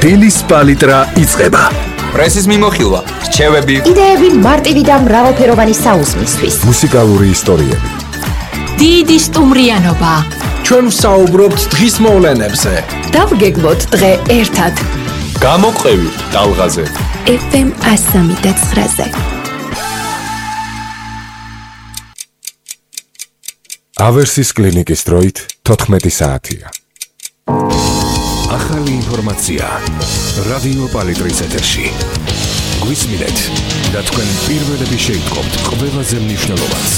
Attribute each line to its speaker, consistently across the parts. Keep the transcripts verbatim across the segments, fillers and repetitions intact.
Speaker 1: დილის პალიტრა იწყება.
Speaker 2: პრესის მიმოხილვა, რჩევები,
Speaker 3: იდეები მარტივი და მრავალფეროვანი საუზმისთვის.
Speaker 1: მუსიკალური ისტორიები.
Speaker 4: დიდი სტუმრიანობა.
Speaker 5: ჩვენ ვსაუბრობთ დღის მოვლენებზე.
Speaker 3: დავგეგმოთ დღე ერთად.
Speaker 2: გამოყევი ტალღაზე.
Speaker 3: ეფ ემ ასამი და ცხრაზე.
Speaker 1: ავერსის კლინიკის დროით თოთხმეტი საათია. ახალი ინფორმაცია რადიო პალიტრის ეთერში. გვისმინეთ და თქვენ პირველები შეიტყობთ ყველაზე მნიშვნელოვანს.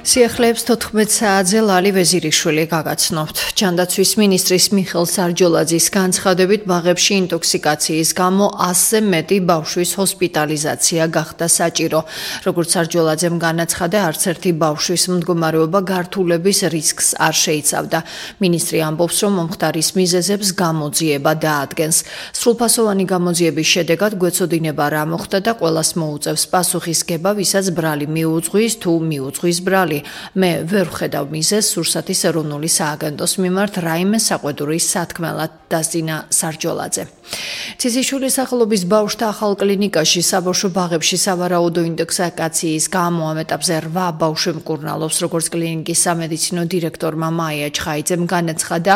Speaker 6: სიახლეებს თოთხმეტ საათზე ლალი ვეზირიშვილი გაგაცნობთ. ჯანდაცვის მინისტრის მიხელ სარჯოლაძის განცხადებით ბაღებში ინტოქსიკაციის გამო ასზე მეტი ბავშვის ჰოსპიტალიზაცია გახდა საჭირო. როგორც სარჯოლაძემ განაცხადა, არც ერთი ბავშვის მდგომარეობა გართულების რისკს არ შეიცავდა. მინისტრი ამბობს, რომ მომხდარის მიზეზებს გამოძიება დაადგენს. სრულფასოვანი გამოძიების შედეგად გვეცოდინება რა მოხდა და ყველას მოუწევს პასუხისგება, ვისაც ბრალი მიუძღვის თუ მიუძღვის ბრალი. მე ვერ ვხედავ მიზეზს სურსათის ეროვნული სააგენტოს მიმართ რაიმე საყვედურის სათქმელად დასძინა სარჯოლაძე. ციციშვილის სახელობის ბავშვთა ახალ კლინიკაში საბავშვო ბაღებში სავარაუდო ინტოქსიკაციის გამო ამ ეტაპზე რვა ბავშვი მკურნალობს, როგორც კლინიკის სამედიცინო დირექტორმა მაია ჩხაიძემ განაცხადა,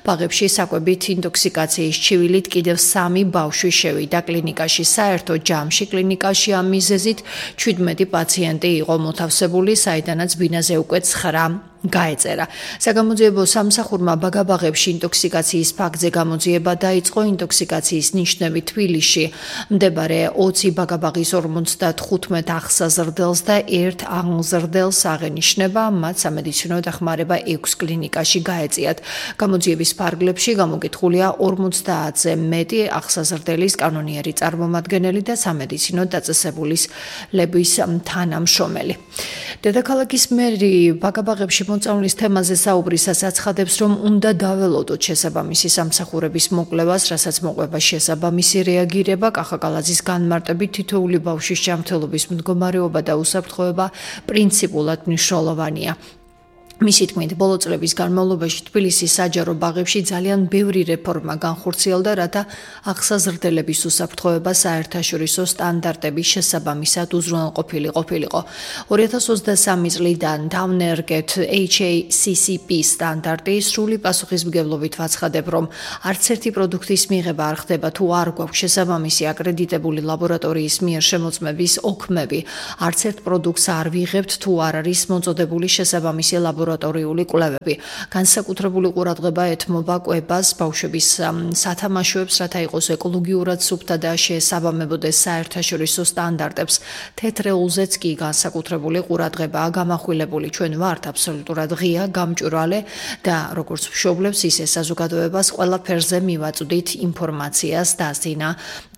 Speaker 6: ბაღებში საკვებით ინტოქსიკაციის ჩივილით კიდევ სამი ბავშვი შევიდა კლინიკაში. საერთო ჯამში კლინიკაში ამ მიზეზით ჩვიდმეტი პაციენტი იყო მოთავსებული, საიდანაც ბინაზე უკვე ცხრა გაეწერა. საგამოძიებო სამსახურმა ბაგაბაღებში ინტოქსიკაციის ფაქტზე გამოძიება დაიწყო. ინტოქსიკაციის ნიშნები თბილისში მდებარე ოცი ბაგაბაღის ორმოცდათხუთმეტ აღსაზრდელს და ერთ აღმზრდელს აღენიშნება, მათ სამედიცინო დახმარება ექვს კლინიკაში გაეწიათ. გამოძიების ფარგლებში გამოკითხულია ორმოცდაათზე მეტი აღსაზრდელის კანონიერი წარმომადგენელი და სამედიცინო დაწესებულების თანამშრომელი. დედაქალაქის მერი ბაგაბაღებში მოწამვლის თემაზე საუბრისას აცხადებს, რომ უნდა დაველოდოთ შესაბამისი სამსახურების მოკვლევას, რასაც მოყვება შესაბამისი რეაგირება. კახაკალაძის განმარტებით თითოეული ბავშვის ჯანმრთელობის მდგომარეობა და უსაფრთხოება პრინციპულად მნიშვნელოვანია. მისი თქმით, ბოლო წლების განმავლობაში თბილისის საჯარო ბაღებში ძალიან ბევრი რეფორმა განხორციელდა, რათა აღსაზრდელების უსაფრთხოება საერთაშორისო სტანდარტების შესაბამისად უზრუნველყოფილი ყოფილიყო. ორი ათას ოცდასამი წლიდან დავნერგეთ ეიჩ έი სი სი პი სტანდარტი. სრული პასუხისმგებლობით ვაცხადებ, რომ არც ერთი პროდუქტის მიღება არ ხდება, თუ არ გვაქვს შესაბამისი აკრედიტებული ლაბორატორიის მიერ შემოწმების ოქმები. არც ერთ პროდუქტს არ ვიღებთ, თუ არ არის მოწოდებული შესაბამისი ლაბორატორია. ლაბორატორიული კვლევები. განსაკუთრებული ყურადღება ეთმობა კვებას ბავშვების სათამაშოებს, რათა იყოს ეკოლოგიურად სუფთა და შეესაბამებოდეს საერთაშორისო სტანდარტებს. თეთრეულზეც კი განსაკუთრებული ყურადღებაა გამახვილებული. ჩვენ ვართ აბსოლუტურად ღია, გამჭვირვალე და როგორც მშობლებს, ისე საზოგადოებას ყველაფერზე მივაწვდით ინფორმაციას, დასძინა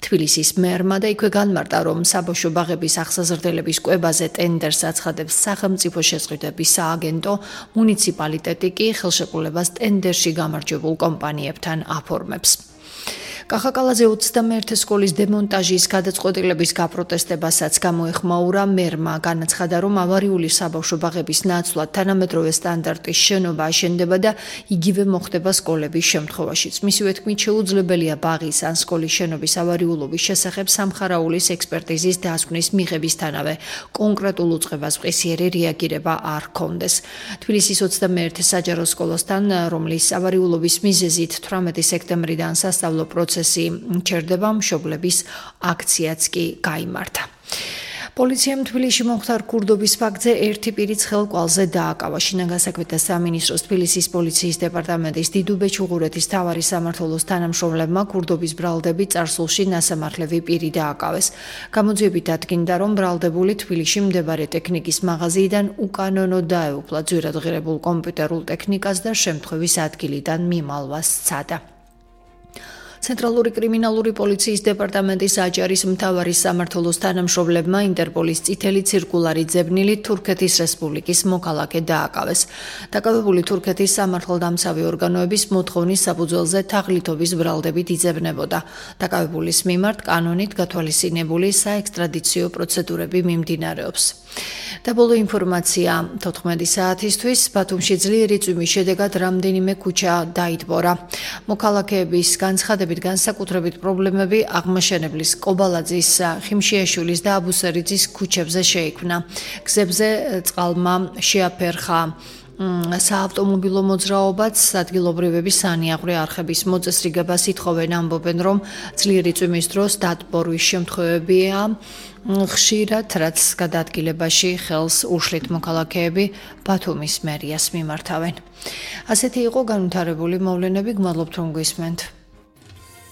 Speaker 6: თბილისის მერმა და იქვე განმარტა, რომ საბავშვო ბაღების აღსაზრდელების კვებაზე ტენდერს აცხადებს სახელმწიფო შესყიდვების სააგენტო, მუნიციპალიტეტი კი ხელშეკრულებას ტენდერში გამარჯვებულ კომპანიებთან აფორმებს. კახაკალაძე ოცდამეერთე სკოლის დემონტაჟის გადაწყვეტილების გაპროტესტებასაც გამოეხმაურა მერმა. განაცხადა, რომ ავარიული საბავშვო ბაღების ნაცვლად თანამედროვე სტანდარტის შენობა აშენდება და იგივე მოხდება სკოლების შემთხვევაშიც. მისივე თქმით, შეუძლებელია ბაღის ან სკოლის შენობის ავარიულობის შესახებ სამხარაულის ექსპერტიზის დასკვნის მიღებისთანავე კონკრეტულ უწყებას მყისიერი რეაგირება არ ჰქონდეს. თბილისის ოცდამეერთე საჯარო სკოლასთან, რომლის ავარიულობის მიზეზით თვრამეტი სექტემბრიდან სასწავლო პროცესი ჩერდება, მშობლების აქციაც კი გაიმართა. პოლიციამ თბილისში მომხდარ ქურდობის ფაქტზე ერთი პირი ცხელკვალზე დააკავა. შინაგან საქმეთა სამინისტროს თბილისის პოლიციის დეპარტამენტის დიდუბე-ჩუღურეთის მთავარი სამმართველოს თანამშრომლებმა ქურდობის ბრალდები წარსულში ნასამართლევი პირი დააკავეს. გამოძიებით დადგინდა, რომ ბრალდებული თბილისში მდებარე ტექნიკის მაღაზიიდან უკანონოდ დაეუფლა ძვირად ღირებულ კომპიუტერულ ტექნიკას და შემთხვევის ადგილიდან მიმალვას სცადა. ცენტრალური კრიმინალური პოლიციის დეპარტამენტის აჯარის მთავარი სამმართველოს თანამშრომლებმა ინტერპოლის წითელი ცირკულარი ძებნილი თურქეთის რესპუბლიკის მოქალაქე დააკავეს. დაკავებული თურქეთის სამართალდამცავი ორგანოების მოთხოვნის საფუძველზე თაღლითობის ბრალდებით იძებნებოდა. დაკავებულის მიმართ კანონით გათვალისწინებული საექსტრადიციო პროცედურები მიმდინარეობს. და ბოლო ინფორმაცია თოთხმეტი საათისთვის ბათუმში ძლიერი წვიმის შედეგად რამდენიმე ქუჩა დაიტბორა. მოქალაქეების განცხადებით განსაკუთრებით პრობლემები აღმაშენებლის, კობალაძის, ხიმშიაშვილის და აბუსერიძის ქუჩებზე შეიქმნა. გზებზე წყალმა შეაფერხა საავტომობილო მოძრაობაც, ადგილობრივები სანიაღვრე არხების მოწესრიგებას ითხოვენ, ამბობენ, რომ ძლიერი წვიმის დროს დატბორვის შემთხვევებია ხშირად, რაც გადაადგილებაში ხელს უშლით მოქალაქეები ბათუმის მერიას მიმართავენ. ასეთი იყო განვითარებული მოვლენები, გმადლობთ რომ გვისმენთ.